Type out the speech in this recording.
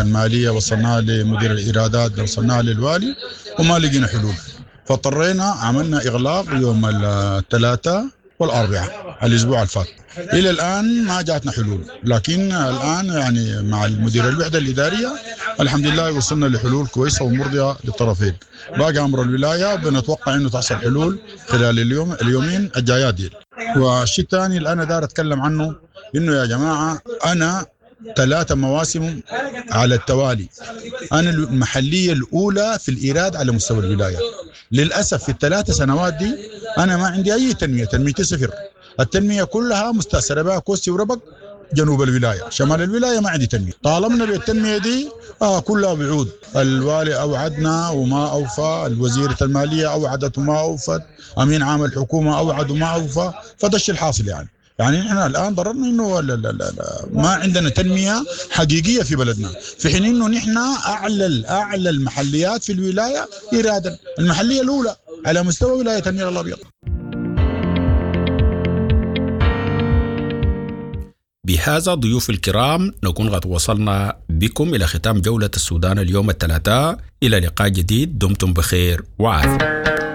المالية، وصلناها لمدير الإيرادات، وصلناها للوالي وما لقينا حلول، فاضطرينا عملنا إغلاق يوم الثلاثاء والأربعاء الأسبوع الفات. إلى الآن ما جاتنا حلول، لكن الآن يعني مع المدير الوحدة الإدارية الحمد لله وصلنا لحلول كويسة ومرضية للطرفين. باقي أمر الولاية بنتوقع إنه تحصل حلول خلال اليوم اليومين الجايات دي. والشيء الثاني اللي أنا دار أتكلم عنه إنه يا جماعة أنا 3 مواسم على التوالي أنا المحلية الأولى في الإيراد على مستوى الولاية. للأسف في ال3 سنوات دي أنا ما عندي أي تنمية، تنميتي صفر. التنمية كلها مستأثرة بها كوستي وربك جنوب الولاية، شمال الولاية ما عندي تنمية. طالبنا بالتنمية دي كلها بعود. الوالي أوعدنا وما أوفى، الوزيرة المالية أوعدت وما أوفت، أمين عام الحكومة أوعد وما أوفى، فده الشيء الحاصل. يعني نحن الآن ضررنا إنه لا لا لا لا، ما عندنا تنمية حقيقية في بلدنا، في حين إنه نحن أعلى المحليات في الولاية إيرادا، المحلية الأولى على مستوى ولاية النيل الأبيض. بهذا ضيوف الكرام نكون قد وصلنا بكم إلى ختام جولة السودان اليوم الثلاثاء. إلى لقاء جديد، دمتم بخير وعافية.